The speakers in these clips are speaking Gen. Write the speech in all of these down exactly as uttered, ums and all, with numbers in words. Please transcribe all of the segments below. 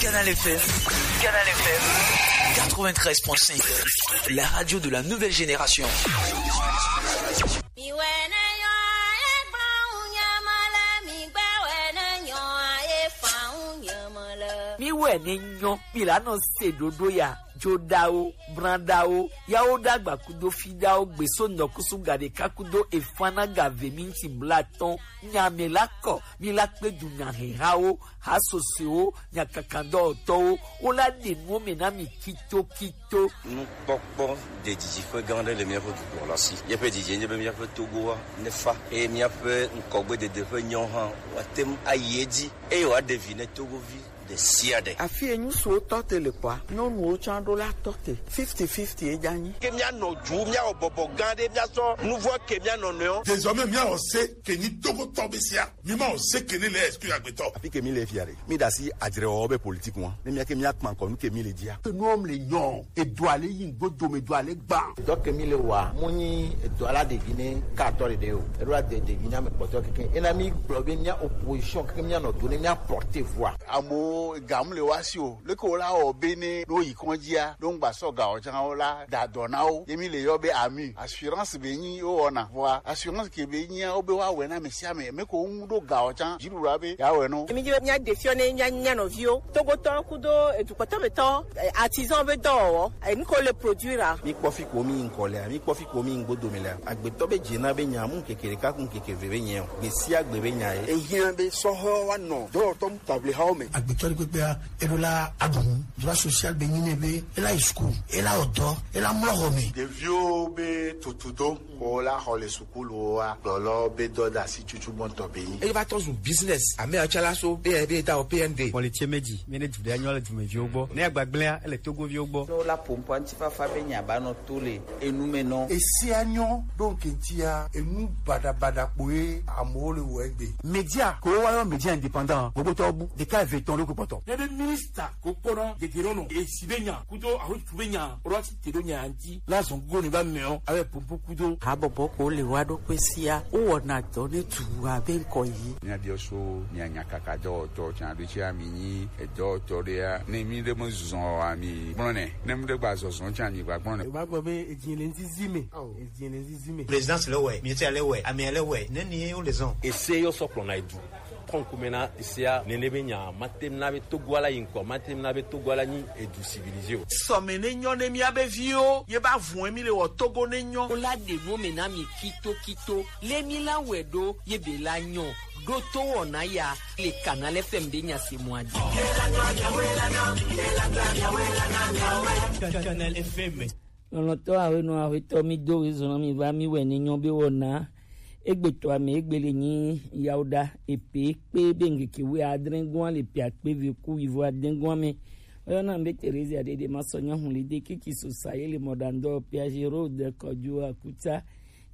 Canal F M. Canal F M. Quatre-vingt-treize point cinq. La radio de la nouvelle génération. Mi wɛ ne nyɔ, mi la nɔ se ɖoɖo ya, joɖawo, branɖawo, yawo ɖagba kudo fiɖawo, gbeso nɔkusu gaɖeka kudo efana gave minti blatɔn, nyame la kɔ, mi la kpe du nyahehawo, hasosewo, nyakakadɔwɔtɔwo, wo la ɖe nuwo me na mi kito kito. Nukpɔkpɔ ɖe didiƒe gã aɖe le míaƒe dukɔ la si. Míaƒe didi nye be míaƒe Togoa nefa eye míaƒe ŋkɔgbedede ƒe nyawo hã woate ŋu ayi edzi eye wòaɖe vi ne Togovi ɖe sia ɖe. Afi yi ŋutsuwo tɔ te le kɔa, nyɔnuwo tsã ɖo la tɔ te. Fifty fifty ye dza nyi. Ke míanɔ dzu, míawɔ bɔbɔ gã aɖe, míasɔ nu vɔ̃ ke mía nɔnɔewo. Désormais, míawɔ se ke nyi Togotɔ be sia. Mi ma o se kele le esprit agbetɔ. Afi ke mi le fia ɖe, mi ɖe asi adzrewɔwɔ be politique ŋua. Ne mía ke mía kpa ŋkɔ nu ke mi le dzia. Ke nuwo le nyɔ, edoa le yi ŋgbo dome, edoa le gba. Dɔ ke mi le wa, mo nyi edoa la ɖevi ne ka atɔ ɖeɖe o. Eɖo la de ɖevi na me kpɔtɔ keke. Ena mi gblɔ be mía opposition keke mía nɔ do ne mía porte voix. Amewo ga mu le wa si o. Leke wo la wɔ be ne ɖo yi kɔndzia, ɖo ŋgba sɔ ga o tsã wo la da dɔ na wo. Ye mi le yɔ be ami. Assurance be nyi wo wɔna. Vɔa assurance ke be nyia wo be wa wɛ na me sia me. Me ko ŋu ɖo ga o tsã. Dziɖuɖu be ya wɛ no. Mi dzi be mía de fiɔ ne mía, mía nɔviwo. Togotɔ kudo edukpɔtɔ betɔ, eh, artisan be dɔwɔwɔ. Eh, nu ko le produire a. Mi kpɔ fi ko mi ŋkɔ lea, mi kpɔ fi ko mi ŋgbo dome lea. Agbetɔ be dze na be nya mu keke ɖeka ku keke ve be nyɛ o. Gbe sia gbe be nya ye. Ehiã be sɔhɔ wa nɔ dɔwɔtɔ mu table hawo me. Agbetɔ ɖe kpekpea, eɖo la aɖu nu. Droit social be nyi nɛ be ela yi school, ela wɔ dɔ, ela mlɔ xɔ me. Ɖeviwo be tutu do ko la xɔ le sukulu wa gblɔlɔ be dɔ da si tutu gbɔntɔ be nyi. Eye va tɔ zu business. Ame atsala so be be da o P N D. Politie meji, mi ne du ɖe nyɔ le dumeviwo gbɔ. Ne agbagblẽa, ele Togoviwo gbɔ. Ne wola ƒo ŋkɔa ŋutifafa be nya ba nɔ to le enu me nɔ. Esia nyɔ ɖo ŋke ŋutia, enu baɖabaɖa kpoe amewo le wɔ egbe. Media ko wa yɔ media indépendant, gbogbo tɔ bu, ɖeka eve tɔn ɖo kpɔtɔ. Ne be minista ko kpɔna dedero nɔ, esi be nya, kudo ahotu be nya, ro asi te ɖo nya ŋuti, la zɔn go ne ba mɛ o, abe pompo kudo. Habɔbɔ ko le wa ɖo kpe sia, wo wɔna dɔ ne du abe ŋkɔ yi. Míabiɔ so mia nyakaka dɔwɔtɔ tsã ɖo tsi ami nyi edɔwɔtɔ ɖea, ne mi ɖe me zɔn o ami gblɔ nɛ, ne mi ɖe gba zɔzɔ tsã mi gba gblɔ nɛ. Ba gbɔ be edzi le nzizi me. Edzi le nzizi me. Présidence le wɛ, ministère le wɛ, amea le wɛ, ne ni wo le zɔn. Ese yɔ sɔ kplɔ na edu. Kɔnkume na esia nene be nya, mate na be Togo ala yi ŋkɔ, mate na be Togo ala nyi edu civilisé o. Sɔme ne nyɔ ne mía be viwo, ye ba vun mi le wɔ Togo ne nyɔ. Wo la ɖe nu me na mi kito kito. Le mi la wɛ ɖo, ye be la nyɔ. Ɖo to wɔna ya, le Canal F M be nya se mɔ adi. Canal F M. Lɔlɔ̃tɔ awenɔ aƒetɔ mi do ɣi zɔn mi va mi wɛ ne nyɔ be wɔna. Egbe tɔ ame egbe le nyi yawo ɖa epe kpe be ŋkeke wi adre gɔn le pia kpe ve ku wi vo adre gɔn me. Oyɔna be Teresa ɖeɖe ma sɔ nyɔnu li de kiki so sa ye le mɔ ɖa ŋdɔ pia Gérard Kɔdzo Akuta.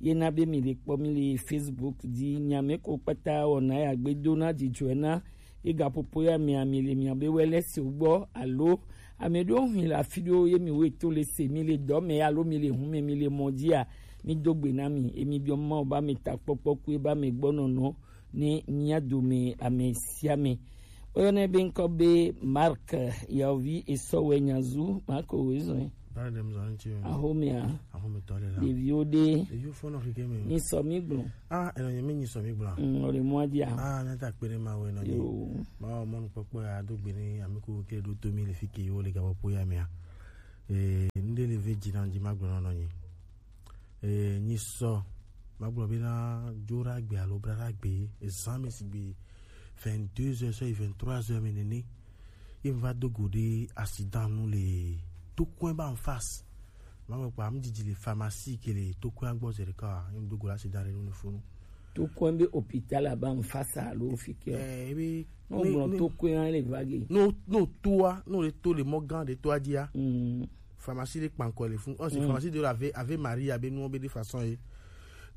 Ye na be mi le kpɔ mi le Facebook dzi, nya me ko kpata wɔna ya gbe do na dzidzɔe na ye gaƒoƒo ya mea mi le mia be wɛ le se gbɔ alo ame ɖewo hui le afi ɖewo ye mi wo to le se mi le dɔ me alo mi le hu me mi le mɔ dzia, mi do gbe na mi emi biɔ Mawu ba me takpɔkpɔ ku eba me gbɔnɔnɔ ne mia dome ame sia ame. Woyɔnɛ be ŋkɔ be Mark Yaovi Esɔwɛ Nyazu Mark Wezɔe. Bana dem zɔn ti o. Ahomea. Ahome tɔ le la. Ɖeviwo ɖe. Ɖeviwo fɔnɔ keke me. Nyi sɔ mi gblɔ. Ah, eno nye mi nyi sɔ mi gblɔ. Mm, o le mɔ dia. Ah, na ta kpe ne ma we no nyi. Yo. Ma o mɔnu kpɔkpɔ ya do gbe ne ami ko ke do to mi le fi ke yo le gabo po ya mea. Eh, nde le ve dzi na dzi ma gblɔ no nyi. Eh, nyi sɔ. Ma gblɔ be na dzo ɖa gbe alo bra ɖa gbe. Ezan me si gbe vingt-deux heures sɔ yi vingt-trois heures me nene. Ye mi va do go ɖe accident nu le Tokoe ba en face. Ma me kpa mi didi le pharmacie ke le Tokoe gbɔ ze ɖeka. Ye mi do go ɖe accident ɖe nu le funu. Tokoe be hôpital ba en face alo fi ke. Eh, ebe no ne, gblɔ ne, Tokoe le vague. No, no toa, no le to le mɔ gã ɖe toa dzia. Mm. Pharmacie ɖe kpankɔ le fun. Ɔsi pharmacie ɖe le Ave, Ave Maria be nuwo be de façon ye.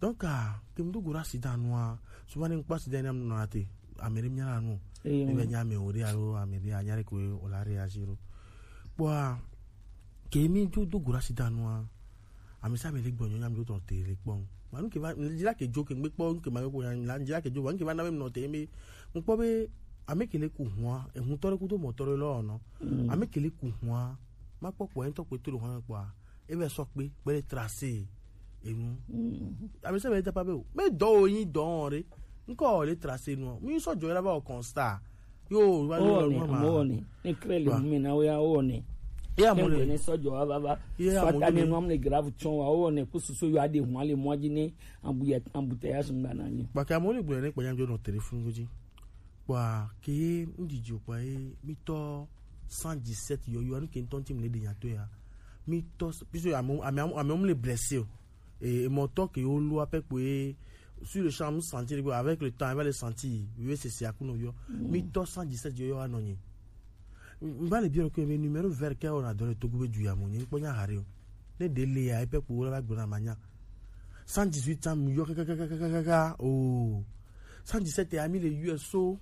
Donc, ah, ke mi do go ɖe accident nua, souvent ne mi kpɔ accident ne mi nɔ ate, ame ɖe mi nya la nu. Eyo. Ne be nya ame wo ɖe alo ame ɖe anya ɖe ko o la réagir o. Kpɔa, ke mi do, do go ɖe accident nua, ame sia ame le gbɔ nyɔ nya mi do tɔ te le kpɔ. Ma nu ke va, mi dzi la ke dzo ke mi kpɔ nu ke ma ko nya, mi la dzi la ke dzo, ma nu ke va na be mi nɔ te mi, mi kpɔ be Ame ke le ku hua, ehun tɔ ɖe kudo mɔ tɔ ɖe lɔ nɔ. Ame ke le ku hua, ma kpɔ kpɔ, ŋutɔ kpe to ɖo hua kpɔa, e vɛ sɔ kpe, kpe le tracé, enu. Ame sɛ bɛ dapa be o, me dɔ o yin dɔ o re, ŋkɔ o le tracé nu, mi sɔ jɔ la ba o constat. Yo, va le o lɔ ne, nu ma. Mo ne, ne kre le Wa. Mi na o ya o ne. Ya mo Kengbe ne. Ne sɔ jɔ wa va va. Ya mo Fata ne ne. Nu am le grave tsɔn wa o ne, ku susu yo ade hua le mɔ dzi ne, ambu ya, ambu te ya sungba na nyi. Ba ka mo le gblɔ ne kpɔ nya jɔ nɔ téléphone go dzi. Kpɔa ke ye ŋdidi o kpɔa ye mitɔ cent dix-sept yɔyɔ anu ke ŋtɔ ŋti mu le ɖe nya to ya. Mitɔ puisque ame ame ame ame le blessé o. Et mɔtɔ ke yo lo apɛ kpɔe sur le champ mu sentir que avec le temps il va le sentir. Yo c'est c'est akuno yo. Mitɔ cent dix-sept yɔyɔ anɔ nyi. Mba le biɔ ke me numéro vert ke on a donné to gube du ya mo nyi kpɔ nya hare o. Ne de le ya epɛ kpɔ la ba gbona manya. Cent dix-huit ans mu yɔ kakakakakaka o. Cent dix-sept ya mi le U S O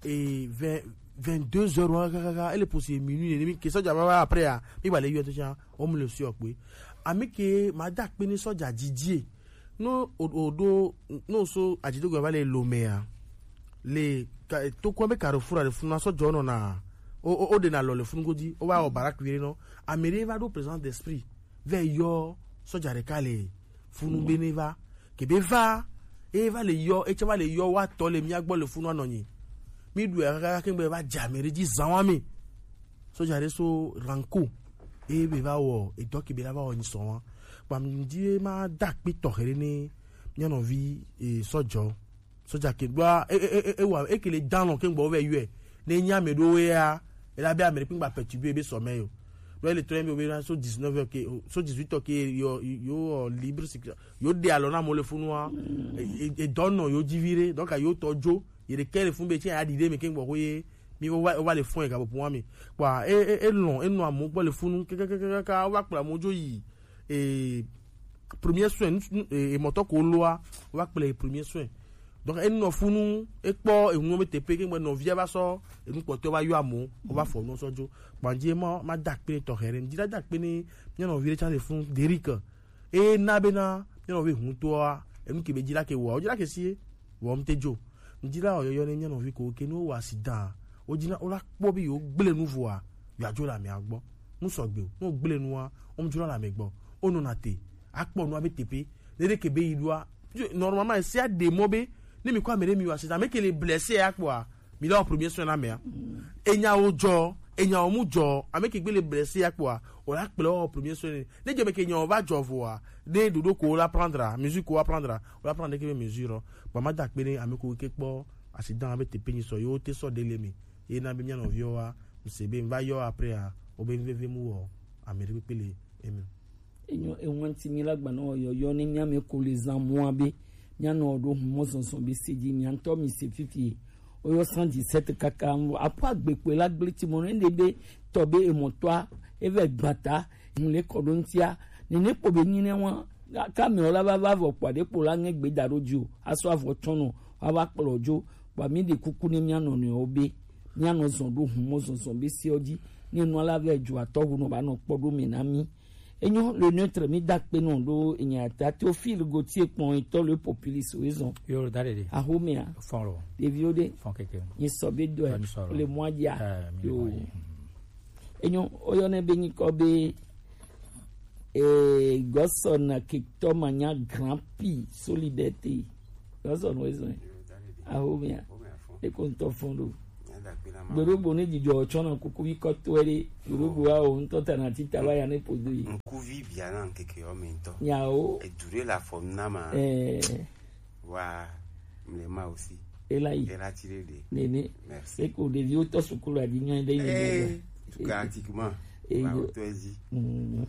et vingt, vingt-deux heures wa kakaka, ele posi minuit ne mi ke sɔja ba ba après ya mi ba le U S O cha o mu le si okpe. Ami ke ma da kpe ni sɔja didie. No o o do no so ajidogo ba le lo me ya. Le ka to ko be carrefour de funa sɔja no na o o o de na lo le funu godi o wa o barak wire no. Amere va do présence d'esprit. Vɛ yɔ sɔja ɖeka le funu be ne va kebe va eye va le yɔ etsɛ va le yɔ wa tɔ le mía gbɔ le funu anɔ nyi mi ɖu ya kaka kaka kengbe va dze ame ɖe dzi zã wa mi sɔja ɖe so ranko eye be va wɔ edɔ kebe la va wɔ nyi sɔn wa kpam di ma da kpi tɔxɛ ɖe ne mía nɔvi e sɔjɔ. Sɔja ke ɖoa e e e e wa e ke le dan lɔ ke gbɔ vɛ yɔe ne nya me ɖo ya e la be ame ɖe kpe gba perturber be sɔmɛ yo. Ɖo ele trɔ be be na so dix-neuf heures ke so dix-huit heures ke yo yo libre circulation yo de alɔ na mo le funu wa e e dɔ nɔ yo dzi vi ɖe donc yo tɔ dzo ye ɖe ke le funu be tse ya ɖi ɖe me ke gbɔ ko ye mi wo va wo va le fɔn ye ka bo pun wa mi kpa e e e lɔn e nɔ amewo gbɔ le funu kekekekeke wo va kplɔ amewo dzo yi e premier soin nu- nu- e- emɔtɔ ko loa wo va kplɔe premier soin donc enɔ funu ekpɔ enuwo be teƒe ke ŋgbe nɔvia va sɔ enu kpɔtɔ va yɔ amewo wo va fɔ nuwo sɔ dzo kpandzie ma ma da kpe tɔxɛ ɖe ŋdi la da kpe ne mía nɔvi ɖe tsa le funu Derrick eye na be na mía nɔvi huntɔa enu ke be dzi la ke wɔa wo dzi la ke sie wɔm te dzo ŋdi la wɔyɔyɔ ne mía nɔvi ko ke ne wo wɔ asi dan wo dzi na wo la kpɔ be yewo gblẽ nu vɔa yewo adzo le amea gbɔ nu sɔgbe o ne wo gblẽ nua wo mu dzo la le ame gbɔ wo nɔna te akpɔ nua be teƒe ne ɖe ke be yi ɖoa normalement esia ɖe mɔ be ne mi kɔ ame ɖe mi wa sita ame ke le blessé ya kpɔa mi la wɔ premier soin na amea enyawo dzɔ enyawo mu dzɔ ame ke gbe le blessé ya kpɔa o la kplɔ wɔ premier soin ne ne dze me ke nyawo va dzɔ voa ne ɖoɖo ko la prendre mesure ko wa prendre o la prendre ke be mesure ba ma da kpe ne ame ko ke kpɔ accident be tepe nyi sɔ yo te sɔ de le mi ye na be mia nɔviwo wa mise be va yɔ après a o be veve mu wɔ ame ɖe kpekpe le emi. Enyo ewanti mi la gbanɔ yɔyɔ ne mia me ko le zan mua be mia nɔ ɖo humɔ zɔnzɔn be se dzi mia ŋutɔ mi se fifi oyɔ cent dix-sept kaka ŋu apo agbekpe la gble ti mɔ ne ɖe be tɔ be emɔtɔa eve gbata ŋu le kɔ ɖo ŋutia nene kpɔ be nyi ne wa kame la va va vɔ kpɔ ɖe kpɔ la ŋe gbe da ɖo dzi o asɔ avɔ tsɔnɔ wa va kplɔ dzo kpɔ mi ɖe kuku ne mia nɔnɔewo be mia nɔ zɔn ɖo humɔ zɔnzɔn be se dzi ne nua la vɛ dzo atɔ wu nɔ ba nɔ kpɔ ɖo me na mi Enyo le neutre mi da kpe nɔ ɖo enya ta Théophile Gauthier kpɔn etɔ le populiste we zɔn. Yo da ɖeɖe. Ahomea. Fɔn lo. Ɖeviwo ɖe. Fɔn keke. Nyi sɔ be dɔe. Fɔn sɔ lo. Le mɔa dzia. Eh, mi le mɔa dzi. Yo. Enyo oyɔ ne be nyikɔ be eh gɔsɔ na ketɔ ma nya grand prix solidarité. Gɔsɔ no we zɔn. Ahomea. Eko ŋutɔ fɔn ɖo. Gbeɖogbo ne dzidzɔ tsɔna kuku yi kɔtɔe ɖe gbeɖogbo awo ŋutɔ tana tita va ya ne podo yi. Ŋkuvi bia na ŋkeke yɔ me ŋutɔ. Nyawo. Edu ɖe le afɔ na ma. Ɛɛ. Wa mle ma aussi. Ela yi. Ela ti ɖe ɖe. Nene. Merci. Eko ɖeviwo tɔ sukulu adi nyɔ ɖe yi. Ee. Tuka atikuma. Eyo. Wa wotɔ ezi. Mm.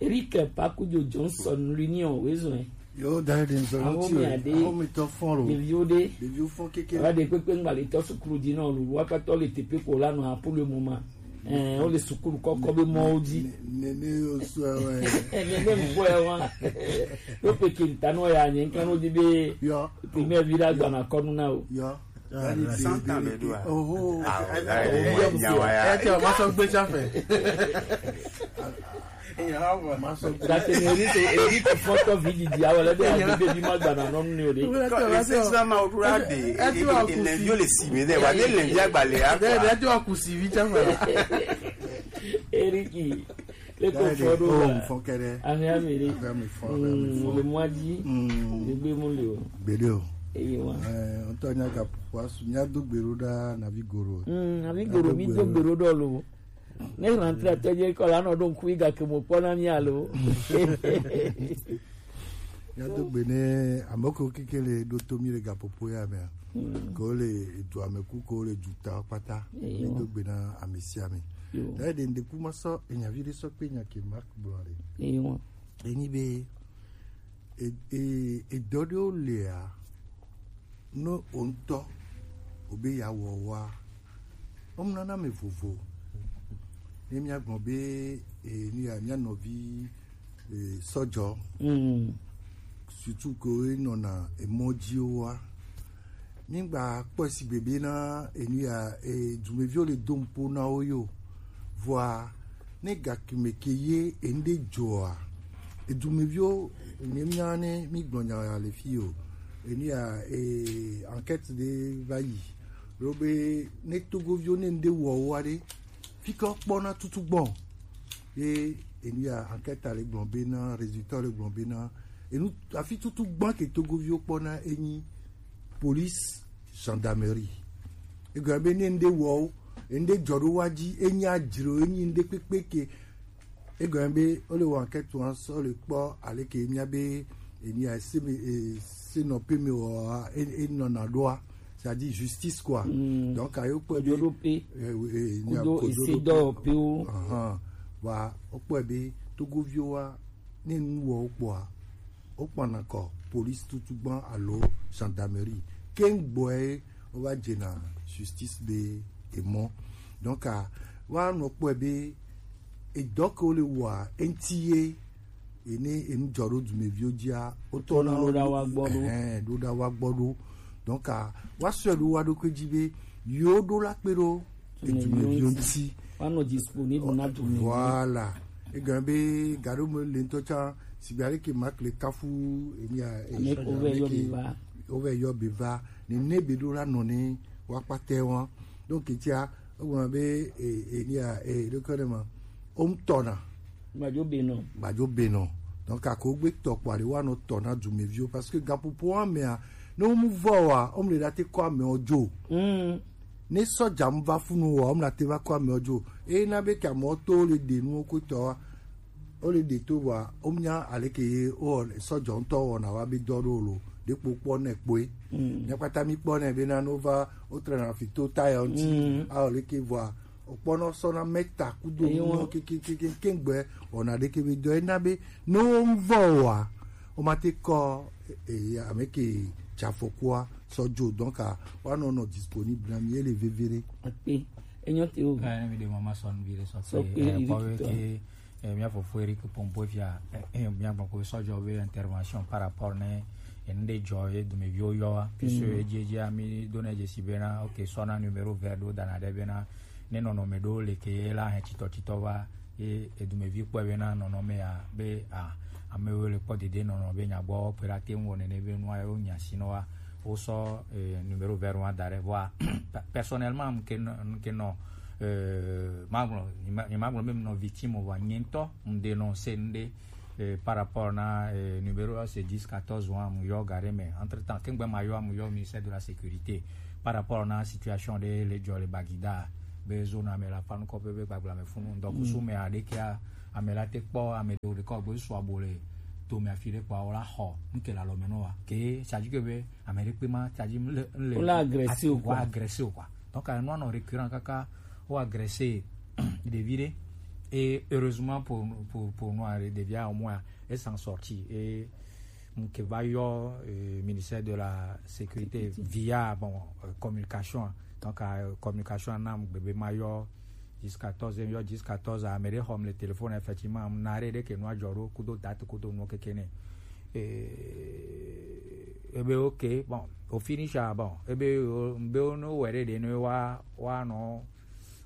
Eric Pakujo Johnson l'union wezɔn. Yo da de nzɔ Aho ti mi ade. Aho mi tɔ fɔn lo. Ɖeviwo ɖe. Ɖeviwo fɔn keke. Wa de kpekpe ŋgbali tɔ sukulu di nɔ lu wa patɔ le tepe ko la nɔ apolo mo ma. Eh, o le sukulu kɔkɔ be mɔ o di. Ne ne yo so wa. Eh, ne ne mvɔ ya wa. Yo pe kinta no ya nye kan o di be. Yo. Primaire vira gbana kɔnu na o. Yo. Santan bɛ do a? Oho. Ah, o da ye nyawa ya. Ɛ tɛ o ma sɔ gbetsa fɛ. Gake ni eri to eri to fɔtɔ vi didi awɔ lɛ bi a bi bi ma gbana nɔ nu ni o de. Ko e se sa ma o dura de. E e le yo le si mi de wa de le ya gba le a. Ɛ tɛ wa kusi vi tsa fɛ. Eriki. Leko fɔ ɖo la. Fɔ kɛɖɛ. Ahia mi ɖe. Ahia mi fɔ, ahia mi fɔ. Le mwa dzi. Egbe mu le o. Gbeɖe o. Eye wa. Ɛ, ŋutɔ nya ga ƒoƒo asu, nya do gbe ɖo ɖa navi goro. Mm, navi goro mi do gbe ɖo ɖɔ lo. Ne rentre atɛ dze kɔ la nɔ ɖo ŋku yi gake mo kpɔ na mi alo. Nya do gbe ne ame ko keke le ɖo to mi le gaƒoƒo ya mea. Ko le edu ame ku ko le du ta kpata. Mi do gbe na ame sia ame. Ɖe ɖe ŋdeku ma sɔ enyavi ɖe sɔ kpe nya ke Mark gblɔ ɖe. Eyi wa. Enyi be e- e- edɔ ɖewo lia, no o ŋutɔ o be ya wɔ wa, o mu nana me vovo. Ne mia gbɔn be e- ni ya mia nɔvi e- sɔjɔ. Surtout ke e nɔna emɔ dzi wa. Mi gba kpɔe sigbe be na enu ya e- dumeviwo le do nuƒo na wo yo. Vɔa ne gakime ke ye enu ɖe dzɔa, edumeviwo ne mia ne mi gblɔ nya ya le fi o. Enu ya e- enquête ɖe va yi. Ɖo be ne togoviwo ne enu ɖe wɔ wo aɖe, fi ke kpɔna tutu gbɔn. Ye enu ya enquête le gblɔ be na résultat le gblɔ be na enu afi tutu gbɔn ke togoviwo kpɔna enyi police, gendarmerie. Egɔme be ne ŋɖe wɔ wo, ŋɖe dzɔ ɖo wa dzi, enyi adzro, enyi ŋɖe kpekpe ke. Egɔme be wole wɔ enquête wa sɔ le kpɔ aleke mia be enya se me e- se nɔ pe me wɔ e- enɔna ɖoa, c'est-à-dire justice quoi. Donc ayo kpɔe be kodo ɖo pe e- e- nya kudo kodo ese ɖo dɔ pe wo. Ahan. Wa wokpɔe be togoviwo wa ne nu wɔ wo kpɔa, wokpɔna kɔ police tutu gbã alo gendarmerie. Keŋ gbɔe wova dzena justice be emɔ. Donc a woanɔ kpɔe be edɔ ke wole wɔa eŋti ye ene enu dzɔ ɖo dumeviwo dzia wotɔ na wo ɖo ɖa wa gbɔ ɖo. Ɛhɛn, ɖo ɖa wa gbɔ ɖo. Donc a woasɔe ɖo wa ɖokui dzi be yewo ɖo la kpe ɖo edumeviwo ŋuti. Woanɔ disponible na dumeviwo. Voilà. Egɔme be gaɖo me le ŋutɔ tsã, sigbe ale ke Mark le kafu enya e- ame ke wova yɔ be va. Wova yɔ be va. Ne ne be ɖo la nɔ ne woakpatɛ wa. Donc etia egɔme be e- enya e- ɖo ke ne ma. Wo ŋutɔ na. Gbadzo be nɔ. Gbadzo be nɔ. Donc ako gbe tɔ kpɔ ale woanɔ tɔ na dumeviwo parce que gaƒoƒo amea ne wo mu vɔ wa, wo mu le ɖa te kɔ amewo dzo. Ne sɔdza mu va funu wa, womla te va kɔ amewo dzo. Eye na be ke amewo to le ɖe nuwo ko tɔ wa, wole ɖe to wa, womnya aleke ye wo sɔdza ŋutɔ wɔna wa be dɔ ɖo lo. Ɖekpo kpɔ ne kpoe. Mia kpata mi kpɔ ne be na no va wotrena fi to tayɔ ŋti. A aleke vɔa okpɔnɔ sɔna mɛta kudo nuwo kekekeke kengbe wɔna ɖeke be dɔ ena be no vɔ wa, o ma te kɔ e- e- ame ke dza afɔkua sɔ dzo. Donc a woanɔ nɔ disponible na mi, ele veve ɖe. Akpe. Enyo te o. Eh, ne mi de mama sɔn vi le sɔ Sɔ pe, kpe eh, vi kpɔ be ke, eh, mia fofo Eric Pompo fia, eh, eh, mia gbɔ ko sɔjɔ be intervention par rapport ne, eh, enu ɖe dzɔ ye dumeviwo yɔ wa. Puisque edzi edzi mi do ne dze si be na, ok, sɔ na numéro vert ɖo dana ɖe be na, ne nɔnɔme ɖo le ke la hɛ titɔ titɔ va, ye edumevi kpɔe be na nɔnɔme ya be a, amewo le kpɔ dede nɔnɔ be nya gbɔ kpe ɖa te ŋu wɔ nene be nua yewo nya si nɔ wa, wo sɔ, eh, numéro vert wa da ɖe vɔa. Pe- personnellement, nke nɔ, nke nɔ, eh, magblɔ, nye ma- nye magblɔ be nɔ victime o, vɔa nye ŋutɔ ŋde nɔ se ŋde, eh, par rapport na, eh, numéro c'est dix quatorze wa mu yɔ ga ɖe me. Entre temps, kengbe ma yɔ mu yɔ ministère de la sécurité par rapport na situation ɖe le dzɔ le Bagida be zone ame la fa nukɔ be be gbagbla me funu. Donc kusu me aɖe kia ame la te kpɔ ame ɖewo ɖe kɔ gbe su abo le to me afi ɖe kpɔ awo la xɔ nuke la lɔ me nɔ wa. Ke tsadzi ke be ame ɖe kpe ma tsadzi le le. Wo la agressé o quoi. Agressé o quoi. Donc à un moment récurrent kaka wo agressé ɖevi ɖe. Et heureusement pour pour pour nous, ɖevia au moins elle s'en sortit. Et nke va yɔ, euh, ministère de la sécurité via bon, euh, communication. Donc euh, communication na mu gbebe ma yɔ jusqu'à quatorze yɔ jusqu'à quatorze ame ɖe xɔm le téléphone, effectivement na ɖe ɖe ke nua dzɔ ɖo kudo date kudo nuwo keke ne. Et Ebe ok, bon, au finish, ah, bon, ebe o be o no were de no wa wa no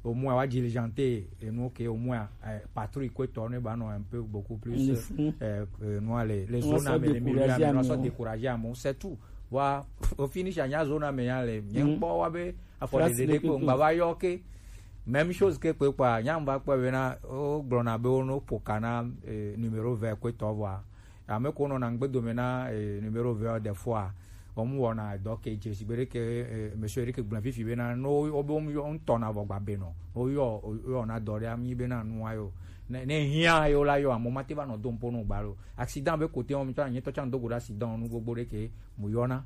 o mu wa diligente e no ok, o mu eh, patrouille ko to ne ba no un peu beaucoup plus, eh, eh, no le le zone ame le milieu ame no so décourager amo, c'est tout. Wa au finish anya zone ame ya le nye kpɔ wa be afɔ de de ko ngba va yɔ ke. Même chose ke kpe kpa nya mba kpɔ be na o gblɔ na be o no poka na, eh, numéro vingt ko to vɔa. Ame ko nɔna ŋgbe dome na, eh, numéro vingt des fois. Wɔm wɔna dɔ ke dze si be ɖeke, eh, monsieur ɖeke gblẽ fifi bena no wo be wɔm yɔ ŋutɔ na vɔ gba be nɔ. No yɔ yɔ na dɔ ɖe ami bena nua yo. Ne ne hiã yo la yɔ amo mate va nɔ dom po no gba lo. Accident be kote wɔm tsɔ anyetɔ tsã do go ɖe accident nu gbogbo ɖeke mu yɔna.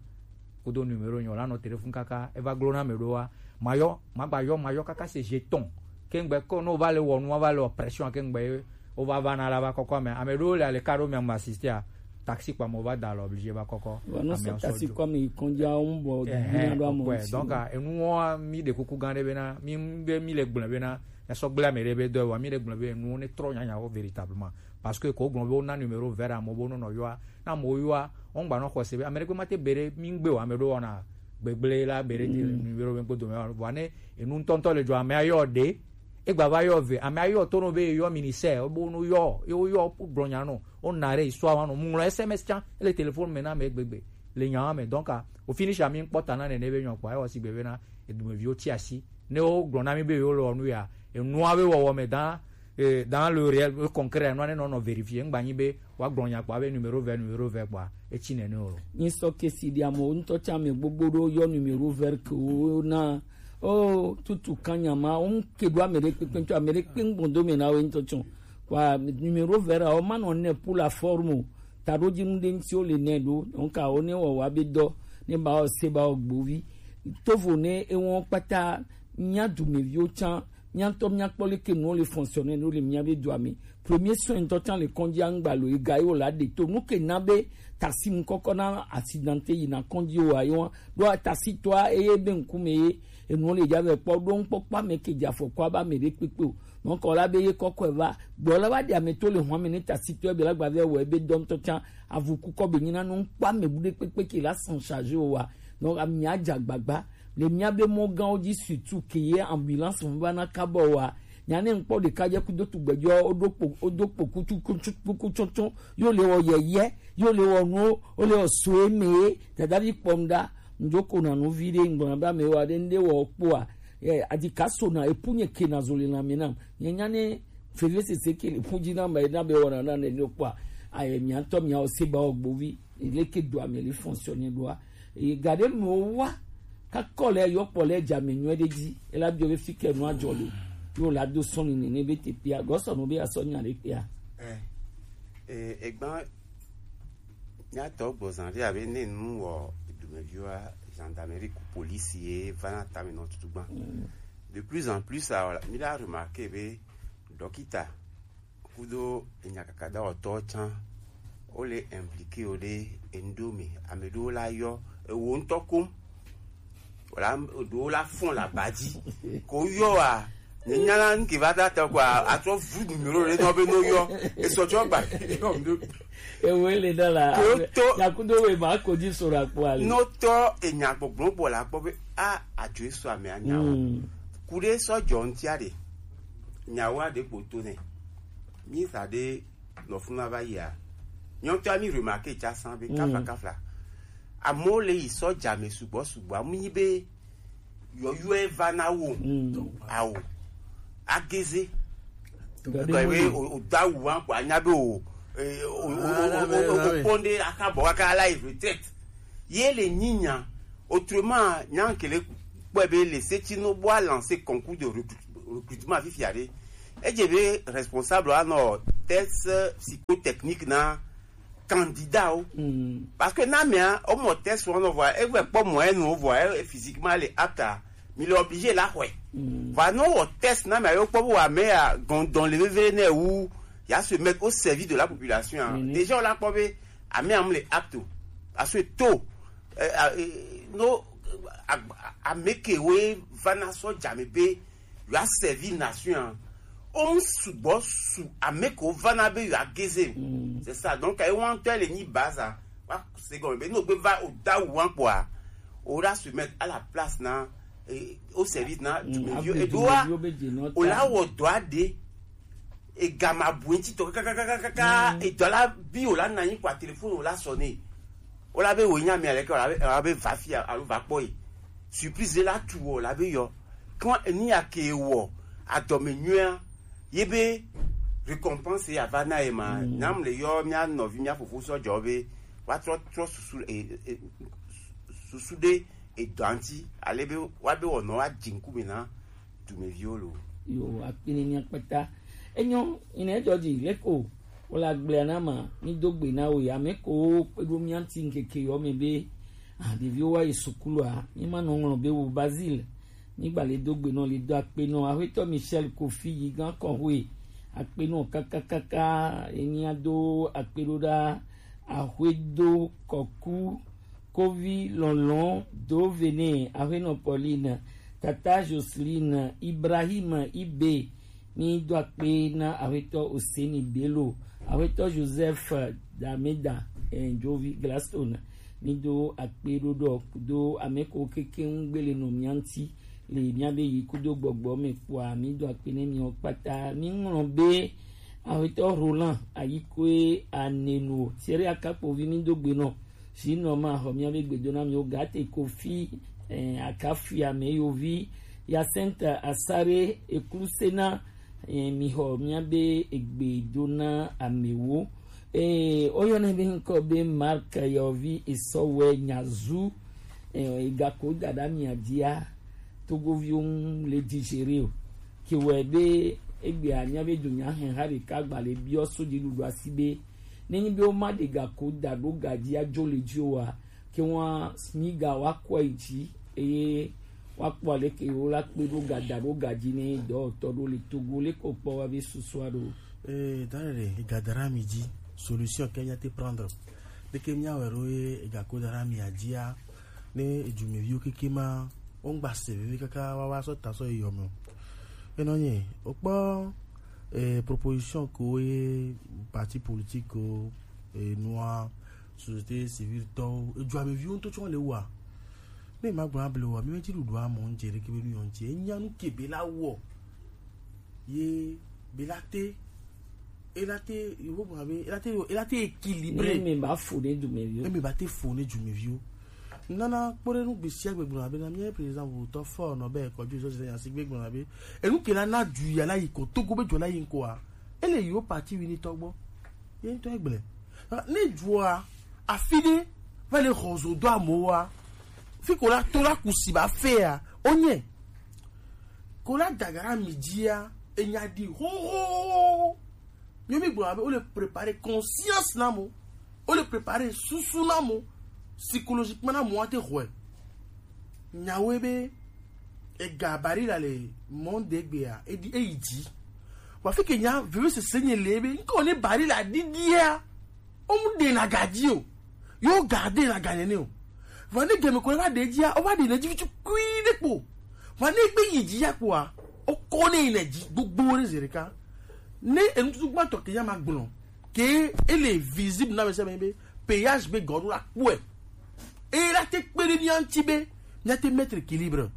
Kudo numéro nyɔ la nɔ téléphone kaka eva glo na me ɖoa. Mayɔ magba yɔ mayɔ kaka se jeton. Kengbe ko no va le wɔ nu va le pression kengbe o va va na la va kɔkɔ ame ame ɖewo le ale ka ɖo mia mu asistea. Taxi kpa mo va da le obligé va kɔkɔ. Wa no sa taxi kɔ mi kɔnja o mbɔ dina ɖo amo si. Donc enuwo mi ɖe kuku gã ɖe bena mi be mi le gblẽ bena ya sɔ gblẽ ame ɖe be dɔ wa mi le gblẽ be enuwo ne trɔ nyanyawo véritablement. Parce que ko gblɔ be wo na numéro vert amo bo no nɔ yɔa na mo yɔa. Wo gba nɔ xɔse be ame ɖe kpe ma te be ɖe mi gbe o ame ɖo wɔna gbegble la be ɖe numéro be kpodo me wa ne enu ŋutɔŋutɔ le dzɔ ame ayɔ ɖe. Egba va yɔ ve ame ayɔ to no be yɔ ministère wo bo no yɔ ye wo yɔ gblɔ nya no wo na ɖe histoire wa no mu ŋlɔ S M S tsã ele téléphone me na ame gbegbe le nya wa me donc a o finish ami kpɔ ta na nene be nyɔ kpɔ ayɔ si gbe be na edumeviwo ti asi ne wo gblɔ na mi be yewo le wɔ nu ya enua be wɔwɔ me dan eh, dans le réel le concret enua ne nɔ nɔ vérifier ŋgba nyi be wa gblɔ nya kpɔ be numéro vert numéro vert kpɔ etsi nene o. Nyi sɔ kesi di amewo ŋutɔ tsã ame gbogbo ɖo yɔ numéro vert ke wo na o tutu kan nya ma wo ŋke ɖo ame ɖe kpekpe ŋutɔ ame ɖe kpe ŋgbɔn do me na wo ŋutɔ tsɔ wa numéro vert awo ma nɔ ne pour la forme o taɖodzinu ɖe ŋuti wo le nɛ ɖo donc awo ne wɔ wa be dɔ ne ba wɔ se ba wɔ gbovi tovo ne ewɔ kpata mía dumeviwo tsã mía ŋutɔ míakpɔ leke nuwo le fonctionner ɖo le míabe dua me. Premier soin ŋutɔ tsã le kɔnji aŋgba lo ega ye wòle aɖe to nu ke na be tasi ŋkɔkɔ na accidente yina kɔnji o ayi wa ɖo tasi tɔa eye be ŋkume ye enuwo le dza vɛ kpɔ ɖo ŋkpɔkpɔ ame ke dze afɔku abe ame ɖe kpekpe o. Donc la be ye kɔkɔe va gbɔ la va ɖe ame to le hɔn ame ne tasi tɔe be la gba vɛ wɔ ebe dɔ ŋutɔ tsã avu kukɔ be nyina nu ŋkpɔ ame bu ɖe kpekpe ke la s'en charger o wa. Donc amia dze agbagba le míabe mɔgãwo dzi surtout ke ye ambulance ŋu va na kabɔ wa. Nya ne ŋkpɔ ɖeka dze kudo tugbedzɔ woɖo kpo woɖo kpo kutu kutu kuku tsɔtsɔ yo le wɔ yɛyɛ yo le wɔ nuwo wo le wɔ soe me ye dadavi kpɔm ɖa ŋdzo ko na nu vi ɖe ŋgblɔ na be ame wa ɖe ŋɖe wɔ kpoa eh, adika so na epu nye ke na zo le na me nam nye nya ne feve sese ke le pu dzi na me na be wɔ na na ne ne kpoa aye mia ŋutɔ mia wo se ba wɔ gbovi leke do ame le fonctionner ɖoa eye ga ɖe me wo wa kakɔ le yɔ kpɔ le dza me nyuie ɖe dzi ela biɔ be fi ke nua dzɔ le yo la do sɔn ni ne be te pia gɔsɔ no be asɔ nya ɖe pia. Eh, eh, egba nyatɔ gbɔzan ɖe abe ne nu wɔ dumeviwa gendarmerie ku police ye va na tame nɔ tutu gba. De plus en plus a mi la remarquer be dɔkita kudo enyakakadawɔtɔwo tsã wole impliqué wo ɖe enuɖewo me. Ame ɖewo la yɔ ewo ŋutɔ kom wòla ɖewo la fɔn le aba dzi ko yɔ wa ne nya la nuke va ta tɔ ko atrɔ vu numéro ɖe nɔ be no yɔ esɔ tsɔ gba yɔ mi ɖo. Ewo ele dɔ la. Ko to nyakudo we ma ko dzi so la kpɔ ale. No tɔ enya gbɔgblɔ bɔ la kpɔ be a adzo eso ame anya o. Kuɖe sɔ dzɔ ŋtia ɖe nyawo aɖe kpo to nɛ. Mi sa ɖe nɔ funu ava yia nyɔtɔa mi remarqué tsa san be kafla kafla amewo le yi sɔ dza me sugbɔ sugbɔ amu nyi be yɔyɔe va na wo awo ageze kɔe be o da wu wa ko anya be o o o o o kpɔn de aka bɔ aka la yi retraite ye le nyinya autrement nya kele kpɔe be le seti no bo a lancer concours de recrut- recrutement fifia ɖe edze be responsable anɔ test psychotechnique na candidat wo parce que na mea o mɔ test wɔn nɔ vɔa e vɛ kpɔ mɔ enu vɔa e physiquement le apte a mi le obligé la xɔe vɔa no wɔ test na mea yo kpɔ bo wa mea gɔndɔn le veve ne wu ya se mettre au service de la population hein. Déjà on la kpɔ be ame am le apte o parce que to eh, ah, eh, no ame kewoe va na sɔ dza me be yewoa servi nation a wo mu sugbɔ su ame kewo va na be yewoa geze o c'est ça donc ye wan tɔ le nyi baza Wa se gɔme be no gbe va o da wu wan kpɔa, o la se mettre à la place na, eh, au service na, mm, dumeviwo, abe edo wa, dumeviwo be dze nɔ o la ta wɔ dɔ ade. Ega ma bu ŋuti tɔ kakakakaka. Mm. Edɔ la bi o la na anyi kpɔa, téléphone o la sonné. O la be wo nya mi aleke, o la be, o la be va fia alo va kpɔ yi. Surprise la tu o la be yɔ. Quand ni ya ke wɔ adɔme nyuia, ye be récompense ya va na ye ma. Mm. Nyam le yɔ mia nɔvi mia fofo sɔ jɔ be wa trɔ trɔ susu, e, e, susu ɖe edɔa ŋuti, ale be wa be wɔnɔ wa dzi ŋkume na dumeviwo lo. Yo, akpini mia kpata. Enyo, ine jɔji leko, wala gblea na ma, mi do gbe na wo ya, me ko kpedo mia ŋuti ŋkeke yɔ me be, ah, ɖeviwo wa yi sukulua, mi ma nɔ ŋlɔ be wo Basile, mi gba le do gbe nɔ, le do akpe nɔ, Aƒetɔ Michel Kofi yi gan kɔnhwe, akpe nɔ kakakaka, enya do akpe ɖo ɖa, Aƒedo Kɔku, Kovi Lɔlɔ, Dovene, Aƒenɔ Pauline, Tata Jocelyne, Ibrahim Ibe, mi do akpe na Aƒetɔ Oseni Bello, Aƒetɔ Joseph Dameda, eh, Jovi Gladstone, mi do akpe ɖo ɖɔ do ame ko keke ŋu gbele nɔ mia ŋuti le mia be yi kudo gbɔgbɔ me kpɔa, mi do akpe ne miwo kpata. Mi ŋlɔ be Aƒetɔ Roland Ayikoe Anenu, Thierry Akakpovi, mi do gbe nɔ. Sinɔ ma xɔ mia be gbedo na mi wo gate Kofi, eh, Akafia me yovi, Yacinthe Asare Eklusena, eh, mi xɔ mia be egbe do na amewo. Eh, oyɔnɛ be ŋkɔ be Mark Yovi Esɔwɛ Nyazu, eh, egako dada mia dia, Togoviwo ŋu le digéré o. Ke wɔe be egbea mia be do nya hɛn ha ɖeka gba le biɔ so dziɖuɖua si be, nenyi be woma ɖe gako da ɖo ga dzi adzo le dzi oa, ke ŋua smiga wa kɔe dzi, eye wa kpɔ aleke wo la kpe ɖo ga da ɖo ga dzi ne dɔwɔtɔ ɖo le Togo le ko kpɔ wa be susua ɖo. Eh, dare ɖe, ega da ɖe mi dzi, solution ke mia te prendre. Leke mia wɛ ɖo ye ega ko da ɖe mi adzia, ne edumeviwo keke ma, wo ŋgba se veve kaka wa wa sɔ ta sɔ yi yɔ me o. Enɔ nye, o kpɔ, eh, proposition ko ye parti politique ko, eh, nua, société civile tɔwo, edumeviwo ŋutɔ tsɔ le wa. Ne ma gblɔ able wa, mi me ti ɖuɖu amɔ ŋdze ɖeke be nu yɔ ŋdze. Enya nu ke be la wɔ. Ye be la te, e la te, yo bo be, e la te, e la te équilibré. Ne me ba fo ne dumeviwo. Ne me ba te fo ne dumeviwo. Nana kpɔ ɖe nu gbesiagbe gblɔ abe na mía président votɔ fɔ nɔ be kɔdzi zɔ zɔ ya si gbe gblɔ abe. Enu ke la na du ya la yi ko Togo be jɔ la yi ŋkɔa. Ele yi wo parti wi ni tɔgbɔ. Ye ŋutɔ egblẽ. Ne dua afi ɖe va le xɔ zo do amewoa, fi ko la to la kusi ba fea, onye. Ko la dagara mi dzia, enya ɖi hoho. Míawo mígblɔna be wole préparer conscience na mo, wole préparer susu na mo, psychologiquement na mo ate xɔe. Nyawoe be ega Barilla le monde egbea, eɖi eyi dzi. Vɔ fi ke nya veve sese nye le be ŋkɔ ne Barilla ɖiɖia, womu ɖena ga dzi o. Yo ga ɖena ga nene o. Vɔ ne gɛmɛ ko va ɖe dzia, wova ɖe ne dzi vitsu kui ɖe kpo. Vɔ ne gbe yi dzi ya kpoa, wokɔ ne yi ne dzi gbogbo ɖe zi ɖeka. Ne enututu gbãtɔ ke ya ma gblɔ, ke ele visible na mese be péage be gɔɖo la kpɔe. Eye la te kpe ɖe mía ŋuti be mía te mettre équilibre.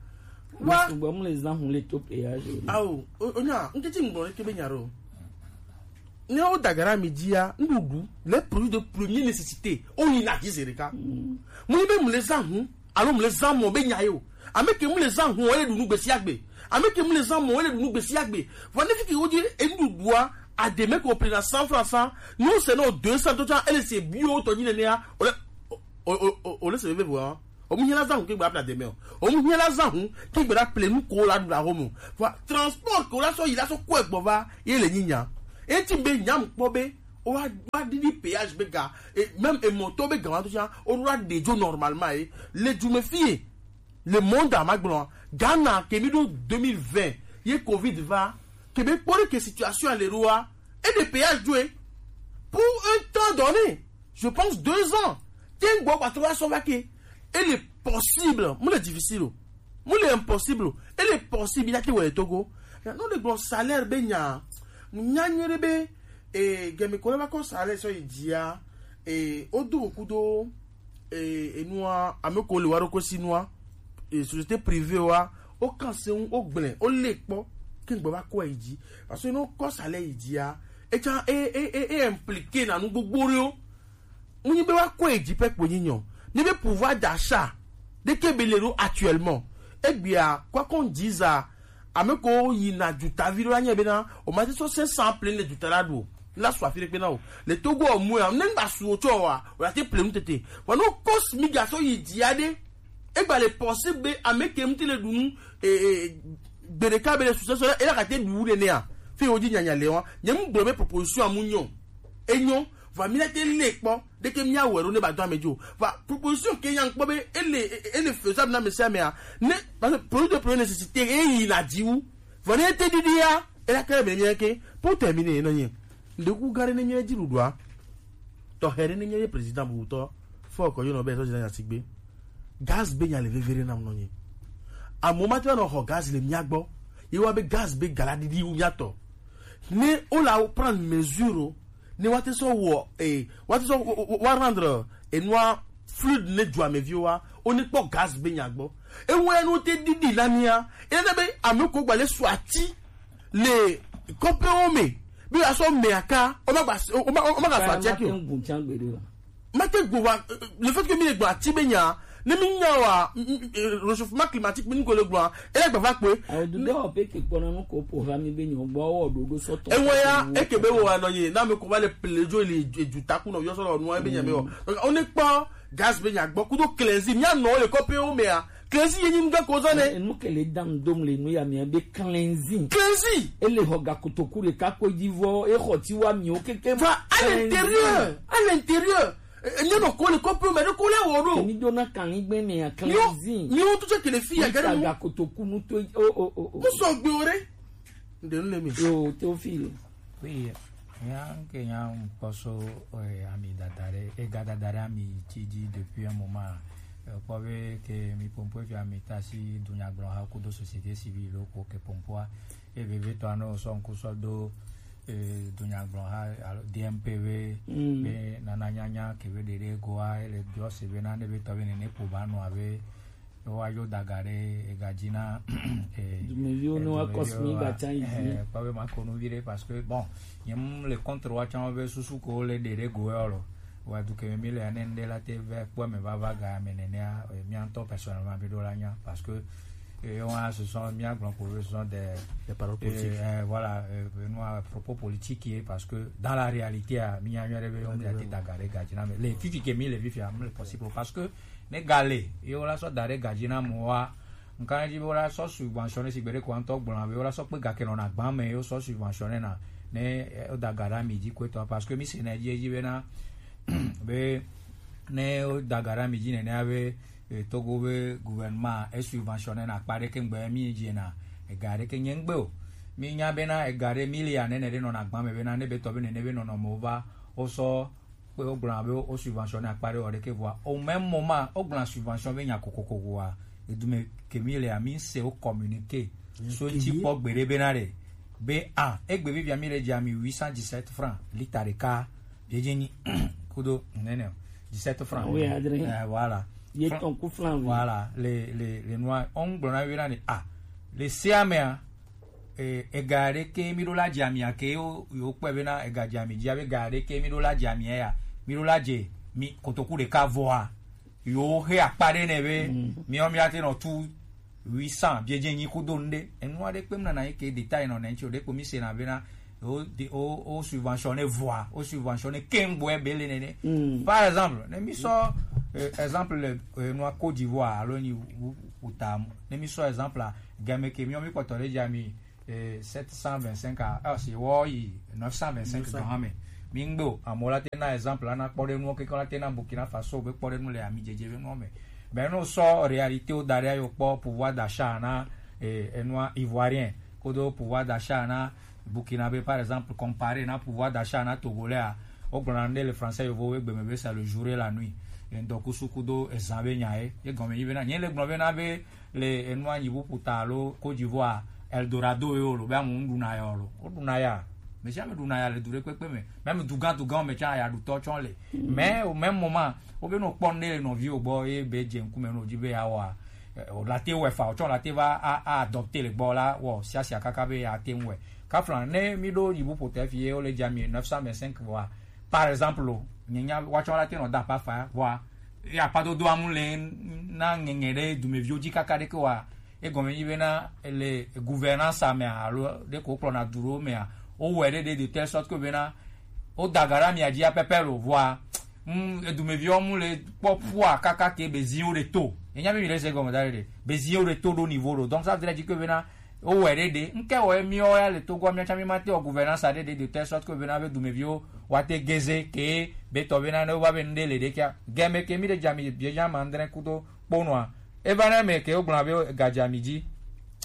Wa sugbɔ mu le zan hun le to péage. Awo, o, o nya, ŋketi ŋgblɔ ɖeke be nya ɖo. Ne wo dagara mi dzia, nuɖuɖu, les produits de première nécessité, wo yi na dzi zi ɖeka. Mu yi be mu le zan hun, alo mu le zan mɔ be nya ye o. Ame ke mu le zan hun, ele ɖu nu gbesiagbe. Ame ke mu le zan mɔ, ele ɖu nu gbesiagbe. Vɔ ne fi ke wo dzi enuɖuɖua, ademe ko ple na cent francs san, ni wo se na o deux cents to tsa, ele se bio tɔ dzi nenea, o le, o, o, o, o le se veve vɔa. Omu hiã la zã hu ke gba bla deme o. Omu hiã la zã hu ke gbe ɖa ple nu ko la ɖu la home o. Vɔa transport ko la sɔ yi la sɔ kɔe gbɔ va ye le nyinya. Eti be nyam kpɔ be o wa wa ɖiɖi péage be ga, e, même emɔtɔ be ga wa to sia o ɖo la ɖe dzo normalement ye. Le du me fie, le monde a ma gblɔ, Ghana ke mi ɖo deux mille vingt ye covid va, ke be kpɔ ɖe ke situation le ɖoa, e ɖe péage dzo ye pour un temps donné. Je pense deux ans. Te ŋgbɔ gbatrɔ va sɔ va ke. Ele possible, mu le difficile o. Mu le impossible o. Ele possible ya te wɔ le Togo. Ya no le gblɔ salaire be nya. Nya nyuie ɖe be, e, gɛmɛ ko le va kɔ salaire sɔ yi dzia. E, wodo go kudo, e, enua, ame ko le wa ɖo ko si nua, e, société privée wa, o kan se ŋu, o gblẽ, o le kpɔ, ke ŋgbe va kɔ yi dzi. Parce que ne o kɔ salaire yi dzia, e tsa, e, e, e, e impliqué na nu gbogbo ɖewo. Mu nyi be wa kɔ yi dzi pɛ kpo nyi nyɔ. Nyi be pouvoir d'achat ɖe ke be le ɖo actuellement. Egbea, quoi qu'on dise, ame ko yi na dutavi ɖo anye be na, o ma te sɔ cinq cents plein le duta la ɖo. La su afi ɖe kpe na o. Le Togo o mu ya, ne ŋgba su o tsɔ wa, o la te plein tete. Wa no kos mi ga so yi dzia ɖe. Egba le possible be ame ke mu te le ɖu nu, e, e, gbe ɖeka be le su sɔsɔ, e la ka te ɖu ɖe nea. Fi wo dzi nyanya le wa. Nye mu gblɔ be proposition amu nyɔ. Enyo, va mi la te le kpɔ, ɖeke mi awɛ ɖo ne ba do ame dzo. Va proposition ke nya kpɔ be ele, ele faisable na ame sia amea. Ne, parce que produit de première nécessité, e yi na dzi wu. Vɔ ne te ɖiɖia, e la ke le be mi ke, pour terminer, nɔ nye. Ndeku gare ne mi dzi ɖuɖua. Tɔxɛ ɖe ne míabe président bubutɔ fɔ kɔ yɔnɔ be etɔ dzina nya sigbe. Gaz be nya le vevere nam nɔ nye. Amewo ma te va nɔ xɔ gaz le mía gbɔ. Ye wa be gaz be gala ɖiɖi wu mía tɔ. Ne o la prendre mesure o, ne wa te sɔ wɔ, eh, wa te sɔ wa, wa, wa rendre enua fluide ne dua me viwo wa, o ne kpɔ gaz be nya gbɔ. Ewo ya no te ɖiɖi la mía. E na be ame ko gba le su ati le kɔƒewo me be yeasɔ mea ka, womagba-, woma-, womagasu atia ke o. Mate gbo wa, le fait que mi le gblɔ ati be nya, ne mi nya wa, m-, m-, eh, réchauffement climatique mi nugo le gblɔa, ele gbava kpe. Awo du dɔ pe ke kpɔna nu ko po va mi be nyɔ gbɔ wɔ ɖoɖo sɔtɔ. Ewe ya, eke be wo wa nɔ ye, na me ko va le plejo le edu taku nɔ yɔ sɔ nɔ nua be nya me wɔ. Donc, on ne kpɔ gaz be nya gbɔ, kudo klezi, mi anɔ le kɔƒewo mea, klezi ye nyi nuga ko zɔ ne. Enu ke le dam dom le nu ya mea be klezi. Klezi. Ele xɔ gakotoku ɖeka ko dzi vɔ, e xɔ ti wa miwo keke. Va à l'intérieur, à l'intérieur. E, e, nye nɔ ko le kɔƒewo me ɖe ko le wɔ ɖo. Emi do na kan ni gbe mea klezi. Mi wo tu tse kele fi ya gare mu. Gakotoku nu to, o, o, o, o. Mu sɔ gbe o ɖe. Nde nu le mi. Yo, Théophile. Oui, nya nke nya ŋkpɔ so, eh, ami dada ɖe, ega dada ɖe ami tsi dzi depuis un moment. Eh, kpɔ be ke mi pompo fi ami ta si dunyagblɔha kudo société civile ko ke pompoa. E vevitɔ anɔ sɔ ŋku sɔ do, eh, dunyagblɔha alo D M P V, mm, be nana nyanya ke be ɖeɖe goa, ele biɔ se be na ne be tɔ be nene po ba nɔ abe Woayo daga ɖe ega dzi na, eh, dumeviwo ne woakɔ si mi gbatsa yi dzi. Eh, kpɔ be makɔ nu vi ɖe parce que, bon, nye mu le contre wa tsã be susu ko le ɖe ɖe go yɔ lɔ. Wa du ke mi le ane ŋɖe la te ve kpɔ me va va ga me nenea, eh, mía ŋutɔ personnellement mi ɖo la nya parce que, eh, on a ce sont mía gblɔ ko be ce sont des, des paroles politiques. Eh, voilà, eh, nous à propos politique ye parce que dans la réalité a mi nya nyɔ ɖe be on a te daga ɖe ga dzi na me. Le fifi ke mi le fifi a, mi le possible parce que ne gale, ye wola sɔ da ɖe gadzi na amewoa, ŋka dzi be wola sɔ subventionner si gbeɖe ko ŋutɔ gblɔna be wola sɔ kpe gake nɔna gbã me ye wosɔ subventionner na ne, eh, woda ga ɖe ami dzi ko etɔa, parce que mi se na edzi edzi bena, be ne woda ga ɖe ami dzi nenea be, eh, Togo be gouvernement e subventionner na akpa ɖeke ŋgbe mi dzi na ega ɖeke nye ŋgbe o. Mi nya bena ega ɖe mi le ya nene ɖe nɔna gbã me bena ne be tɔ be nene be nɔnɔme wo va wosɔ kpe wogblɔna be wo subventionner akpa ɖe wɔ ɖeke vɔa, au même moment wogblɔna subvention be nya kokoko vɔa, edume ke mi lea, mi se wo communiqué so ŋuti kpɔ gbeɖe bena ɖe be a egbe vivia mi le dze ami huit cent dix-sept francs lita ɖeka, biedze nyi kudo nene dix-sept francs. Oui, adre. Eh, voilà. Ye tɔn ku flan. Voilà, le, le, le nua, on gblɔna bena ɖe a le sea mea, eh, ega ɖeke mi ɖo la dze amia ke yo, yo kpɔe bena ega dze ami dzi abe ega ɖeke mi ɖo la dze amia ya, mi ɖo la dze mi kotoku ɖeka vɔa, yo he akpa ɖe ne be, mm, miɔ mi ate nɔ tu huit cents biedze nyi kudo ŋɖe. Enua ɖe kpem nana yi ke détail nɔ ne ŋtsi o ɖe kpo mi se na bena o, o, o subventionné vɔa, o subventionné kengboɛ be le nene. Mm. Par exemple, ne mi sɔ, eh, exemple le, eh, nua Côte d'Ivoire alo nyi wu, wu, wu ta, ne mi sɔ exemple a, game ke miɔ mi kpɔtɔ ɖe dze ami eh, sept cent vingt-cinq a, ah, si wɔ yi neuf cent vingt-cinq gan me. Mi ŋgbe o, amewo la te na exemple, ana kpɔ ɖe nuwo keke la te na Burkina Faso be kpɔ ɖe nu le ami dzedze be nuwo me. Ben, no sɔ réalité wo da ɖe ayo kpɔ pouvoir d'achat na, eh, enua ivoirien, kodo pouvoir d'achat na Burkina be, par exemple, comparé na pouvoir d'achat na Togolais a, wo gblɔna nu ɖe le français yovo wo gbe me be c'est le jour et la nuit. Ŋdɔkusu kudo ezã be nya ye. Ye gɔme yi be na, nye le gblɔ be na be, le enua nyi ƒuƒu ta alo Côte d'Ivoire, Eldorado ye wolo be amewo ɖuna ya lo. Woɖuna ya. Mais jamais ɖuna ya le du ɖe kpekpe me. Même dugan dugan me tsã ya ɖu tɔ tsɔ le. Mais au même moment, wo be no kpɔ ne le nɔvi wo gbɔ ye be dze ŋkume no dzi be ya wa. O la te wɛ fa, o tsɔ la te va a, a adopter le gbɔ la, wɔ sia sia kaka be ya te ŋu wɛ. Kaflan, ne mi ɖo yibu ƒo te fi ye wo le dza mi neuf cent vingt-cinq vɔa. Par exemple, o, nye nya wa tsɔ la te nɔ da pa fa vɔa. Ya pa dodo amu le na ŋɛŋɛ ɖe dumeviwo dzi kaka ɖe ke wa. Egɔme nyi bena le gouvernance mea alo ɖe ko kplɔna du ɖewo mea, wowɔe ɖe ɖe de telle sorte que bena woda ga ɖe amia dzia pɛpɛ lo vɔa. Mm, edumeviwo mu le kpɔ ƒua kaka ke beziwo ɖe to. Enya mi mi ɖe se gɔme da ɖe ɖe. Beziwo ɖe to ɖo niveau ɖo. Donc ça veut dire que bena wowɔe ɖe ɖe. Ŋke wɔ miwo ya le Togo mia tsã mi ma te wɔ gouvernance ɖe ɖe de telle sorte que bena be dumeviwo wa te geze ke be tɔ bena ne wova be nu ɖe le ɖe kia. Gɛme ke mi ɖe dza mi bie dza ma andre kudo kponɔa. Eva na me ke wogblɔna be gadza mi dzi.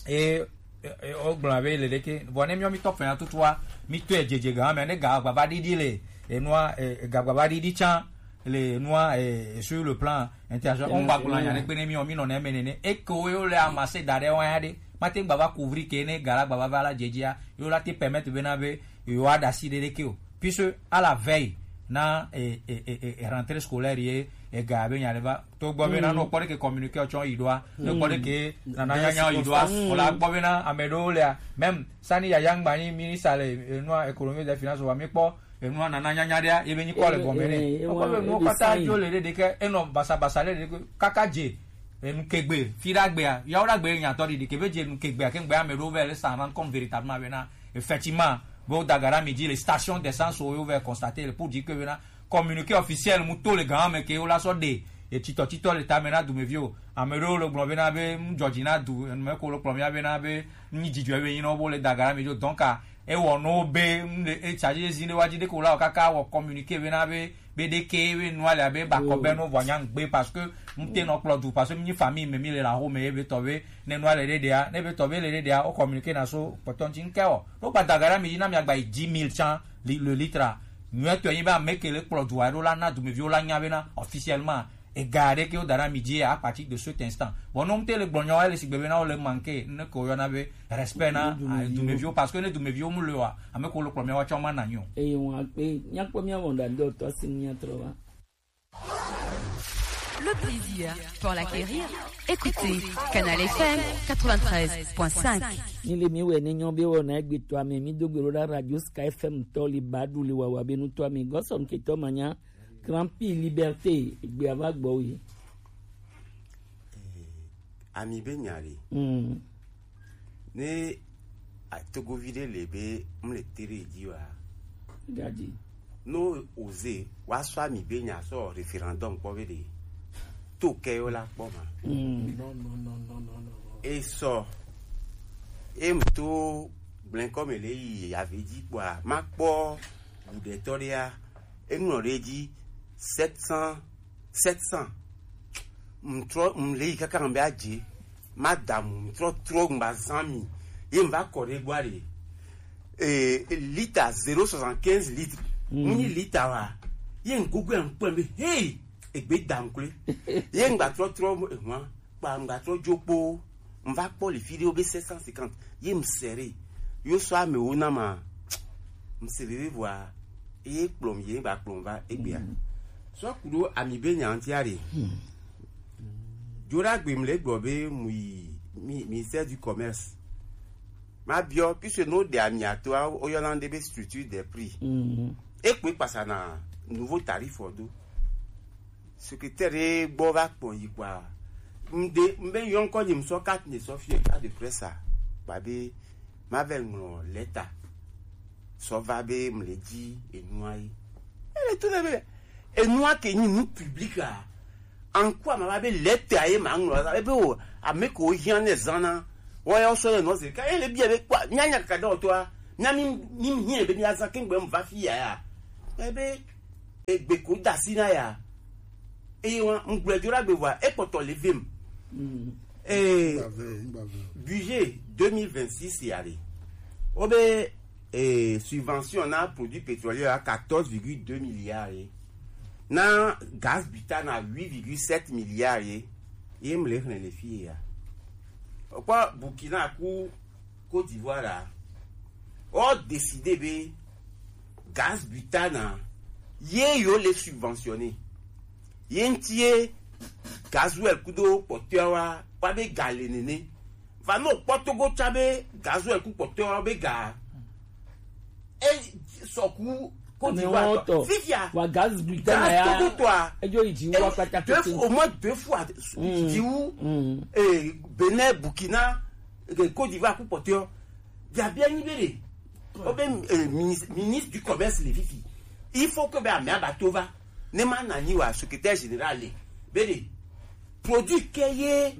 E, e, e, wogblɔna be le ɖeke. Vɔ ne miɔ mi tɔ fɛna tutua, mi tɔe dzedze ga me ne ga gbava ɖiɖi le enua, e, e, ga gbava ɖiɖi tsã le enua, e, e, sur le plan international. On va gblɔ nya ɖe gbe ne miɔ mi nɔ ne me nene. E ke wo le amase da ɖe wa ya ɖe. Mate gbava couvrir ke ne ga la gbava va la dzedzia. Yo la te permettre bena be yo aɖasi ɖe ɖeke o. Puisque à la veille na e, e, e, e, rentrée scolaire ye ega be nya ɖe va to gbɔ be na no kpɔ ɖe ke communiqué tsɔ yi ɖoa, no kpɔ ɖe ke nana nyanya yi ɖoa, o la gbɔ be na ame ɖewo lea, même sani yaya ŋgba nyi ministre le enua économie des finances wa mi kpɔ enua nana nyanya ɖea ye be nyi kɔ le gɔme ne. Kpɔ be nuwo kpata dzo le ɖe ɖeke enɔ basabasa le ɖe ɖeke kaka dze enu kegbe fi ɖagbea yawo ɖagbe nyatɔ ɖiɖi ke be dze enu kegbea ke ŋgbe ame ɖewo vɛ le s'en rendre compte véritablement be na effectivement be wo da ga ɖe ami dzi le station d'essence wo yo vɛ constater le pour dire que be na communiqué officiel mu to le gã me ke wo la sɔ ɖe etsitɔ titɔ le tame na dumeviwo. Ame ɖewo le gblɔ be na be nu dzɔdzi na du enu me ko le kplɔ mia be na be nu nyi dzidzɔ be nyi na wo bo le da ga ɖe ami dzi o. Donc a ewɔ no be nu le e charge zi ne wa dzi de ko la o kaka wɔ communiqué be na be be ɖeke be nua le abe ba kɔ be no vɔ nya ŋgbe parce que ŋte nɔ kplɔ du parce que mi famille me mi le la ho me ye be tɔ be ne nua le ɖe ɖea ne be tɔ be le ɖe ɖea o communiqué na so kpɔtɔ ŋti ŋkɛ o. No gba da ga ɖe ami dzi na mi agba yi dix mille tsã li- le litre a. Nyuie tɔ yi be ame ke le kplɔ dua ɖo la na dumeviwo la nya be na officiellement ega ɖe ke wo da ɖe ami dzi à partir de cet instant. Bon, no ŋte le gblɔ nyawo ele sigbe be na wo le manqué ne ko yɔna be respect na dumeviwo parce que ne dumeviwo mu le wa ame ko le kplɔ mia wa tsɔ ma na nyo. Eye wọn akpe nyakpɔ mia wɔn ɖa dɔ tɔ si nya trɔ va. Le plaisir pour l'acquérir. Écoutez Canal F M quatre-vingt-treize point cinq. Mi le mi wɛ ne nyɔ be wɔ na egbe tɔ ame mi do gbero ɖa radio Sky F M tɔ li ba du le wawa be nu tɔ ame gɔsɔn ke tɔ ma nya. Grand Prix Liberté, egbe ava gbɔ wi. Ami be nya ɖe. Mm. Ne a- togovi ɖe le be mle tere dzi wa. Gadi. No oze wa sɔ ami be nya sɔ référendum kpɔ be ɖe. To ke yo la kpɔ ma. Mm. E sɔ. E mto gblẽ kɔ me le yi ave dzi kpɔa ma kpɔ guɖetɔ ɖea. Enɔ ɖe dzi sept cents, sept cents. Mtrɔ mle yi kaka be adze ma damu mtrɔ trɔ ŋgba zan mi ye mva kɔ ɖe gbɔ ɖe. E lita zéro soixante-quinze litre. Mu ni lita wa ye ŋgogo ya ŋkpɔ be hey egbe dam kle. Ye ŋgba trɔ trɔ ehwa kpa ŋgba trɔ dzo kpo. Mva kpɔ le fi ɖewo be sept cent cinquante ye msere yo sɔ amewo na ma msere be vɔa ye kplɔ mi ye gba kplɔ va egbea. Sɔ ku ɖo ami be nya ŋuti aɖe. Dzo ɖe agbe mle gblɔ be mu yi mi- ministère du commerce. Ma biɔ puisque no ɖe ami ato a woyɔna ŋɖe be structure des prix. Ekpe kpasa na nouveau tarif ɔ do. Secrétaire ɖe gbɔ va kpɔ yi kpɔa. Ŋɖe ŋbe yɔ ŋkɔ nye ŋsɔ carte ne sɔ fie carte de presse a. Kpa be ma vɛ ŋlɔ lɛta sɔ va be mle dzi enua yi. Ele to ne be enua ke nyi nu public a. Anku ama va be lɛta ye ma ŋlɔ ebe o ame ko hiã ne zana. Wɔ ya sɔ ne nɔ ze ka ele bia be kpɔ mia nya kaka dɔ to a. Mia mi mi hiã be mia zan ke ŋgbe mva fi ya ya. Ebe egbe ko da si na ya. Eye wa ŋgblɔe dzo ɖe agbe vɔa ekpɔtɔ le vem. Ee, budget deux mille vingt-six ya ɖe. Wobe ee, subvention na produit pétrolier ya quatorze virgule deux milliards ye. Na gaz butane na huit virgule sept milliards ye. Ye mle xlẽ le fi ya. Okpɔ Burkina ku Côte d'Ivoire la. O décidé be gaz butane a, ye yo le subventionner. Ye ŋuti ye gasoil kudo kpɔtɔewo wa, wa be ga le nene. Va no kpɔ Togo tsa be gasoil ku kpɔtɔewo be ga. E sɔku Côte d'Ivoire tɔ. Fifia. Wa gaz butane ya. Gaz Togo tɔ a. Edzo yi dzi wa kpata deux fois, au moins deux fois, dzi wu, eh, Bénin, Burkina, eh, Côte d'Ivoire ku kpɔtɔewo. Biabia nyi be ɖe, wobe, eh, minis-, ministre du commerce le fifi. Il faut que be amea ba to va. Ne ma na nyi wa secrétaire général le. Be ɖe, produit ke ye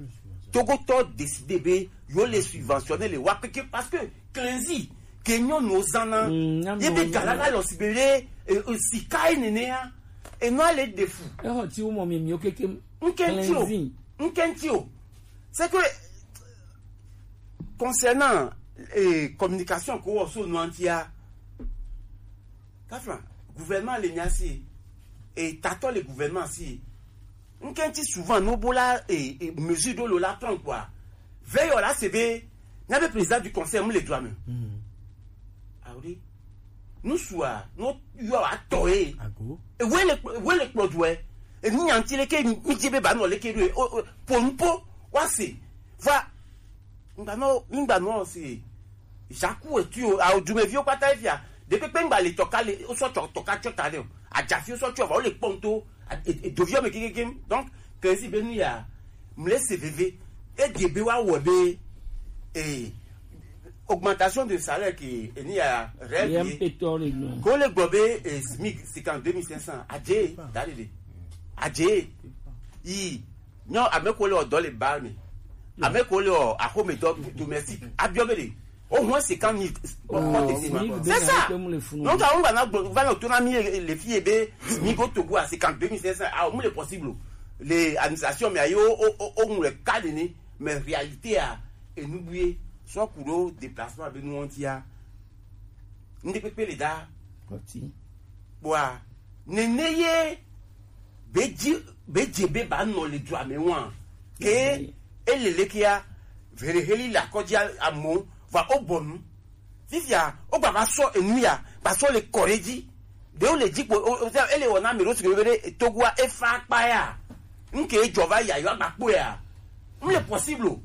Togotɔ décidé be yo le subventionner le wa keke parce que cleansi ke nyɔnuwo zana. Mm, ye be nyɔnu gala va lɔ si be ɖe, eh, eh, sika ye nene ya. E nɔ ale de fu. Exɔ ti wo mɔ mi mi o keke. Nkenti o. Cleansing. Nkenti o. C'est que concernant, eh, communication ko wɔ so nuantia, kafla gouvernement le nya si, e tatɔ le gouvernement si. Nkenti souvent no bo la, eh, eh, mesure do lo la prendre quoi. Veillez là, c'est be, n'a be président du conseil, mu le droit me. Awuri. Nusua, no yo atɔ e. Ago. Ewe le, ewe le kplɔ du e. Enu nyanti le ke mi je be ba no le ke do e. O, o, po nu po, wa se. Va. Ngba no, ngba no se. Jaku e tu o, a o du me vi o kpata e fia. De pepe ngba le tɔka le, o sɔ tɔ, tɔka tɔ ta le o. Ajafi o sɔ tɔ va o le kpɔnto. A, e, e, dovi o me kekeke. Donc, cleansi be nu ya. Mle se veve. E de be wa wɔ be. E, augmentation de salaire ke eni ya règle ye. Ko le gbɔ be, eh, SMIC cinquante-deux mille cinq cents. Adje, dalele. Adje. Yi. Non, ame ko le o dɔ le ba me. Ame ko le o a home dɔ domestique. Abiɔ be de. O hɔn cinquante mille. C'est ça. Donc, a on va na gbo-, va na tourner mi le fille be SMIC au Togo à cinquante-deux mille cinq cents. Ah, on le possible. Les administrations, mais ayo, o, o, o, on le cadre ni. Mais réalité a, enu bu ye, sɔ ku ɖo déplacement be nu ŋuti a. Ŋɖe kpekpe le da. Kpɔti. Bua, nene ye, be dzi, be dze be ba nɔ le dua me wa. Ke, ele le kia, vere heli la kɔdzi a-, amo, va o bɔnu. Fifia, o gba va sɔ enu ya, va sɔ le kɔ ɖe dzi. Ɖewo le dzi kpo, o, o, ele wɔna ame ɖewo si ke be ɖe Togoa efa akpa ya. Ŋke edzɔ va ya, yewo agba kpɔe ya. Mu le possible o.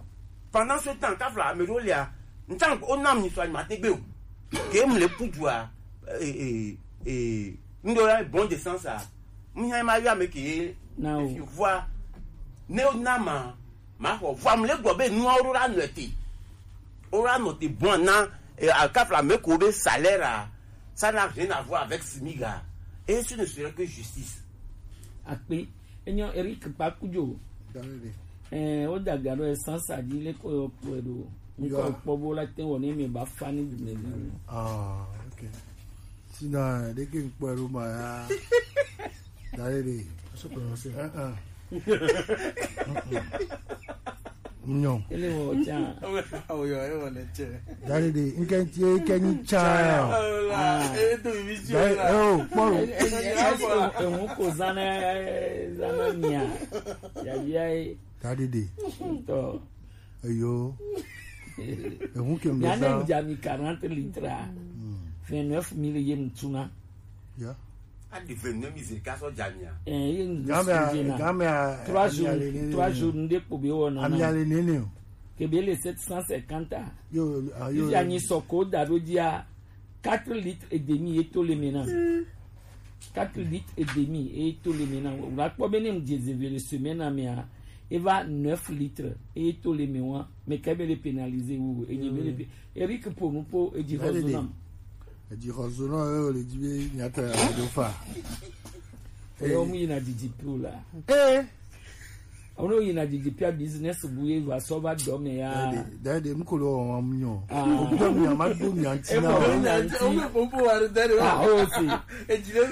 Pendant ce temps, kafla ame ɖewo lia, ŋtan o nam ni so anyi ma te gbe o. Ke mu le pu dua, eh, eh, eh, ŋɖo ya bon de sens a. Mu nya ma ya me ke, na o. Efi vua, ne o na ma, Ma xɔ. Vɔa mu le gblɔ be nuawo ɖo la nɔ te. Wo la nɔ te bɔn na, eh, alkafla me ko be salaire a, ça n'a rien à voir avec SMIC a. Et ce ne serait que justice. Akpe, enyo Eric Pakujo. David. Eh, o daga ɖo essence a dzi le ko yo kpɔe ɖo. Ŋkɔ kpɔ bo la te wɔ ne mi ba fa ni du me. Ah, ok. Sinon, dès que ŋkpɔe ɖo ma ya. David. Aso prononcé. Ah, ah. Nyɔ. Ele wɔ tsa. Awo yɔ, e wɔ ne tse. Dari de, nke nti e ke nyi tsa. Ah. Dari, oh, kpɔlu. Eŋu ko zana, zana mia. Ya, ya, e. Dari de. Tɔ. Eyo. Eŋu ke mbe zan. Ya ne dza mi quarante litres. Hmm. Vingt-neuf mille ye mutuna. Ya. A di vingt-neuf mille zeka sɔ dza mia. Eh, ye nu Gamea, sujena. Gamea, trois jours, trois jours, nde kpo be wɔ nana. Amia le nene o. Ke be le sept cent cinquante a. Yo, ah, yo. Ifi anyi sɔ ko da ɖo dzia, quatre litres et demi ye to le me na. Quatre litres et demi ye to le me na. Wla kpɔ be ne mu dze zeve le semaine a mea, e va neuf litres ye to le me wa. Me ke be le pénaliser wu, e dze be le pé-, Eric po nu po, e dzi xɔ zo nam. Edzi xɔ zo nɔ, eye wòle dzi be miatɔ ya do fa. Eye wo mu yina didi pio la. Ee. Wo no yina didi pia business bu ye va sɔ va dɔ me ya. Dade, dade, mu ko lo wa mu nyo. Ah. O do mi ama do mi anti na. E mo do mi anti. O mo po wa dade. Ah, o si. Edzi le.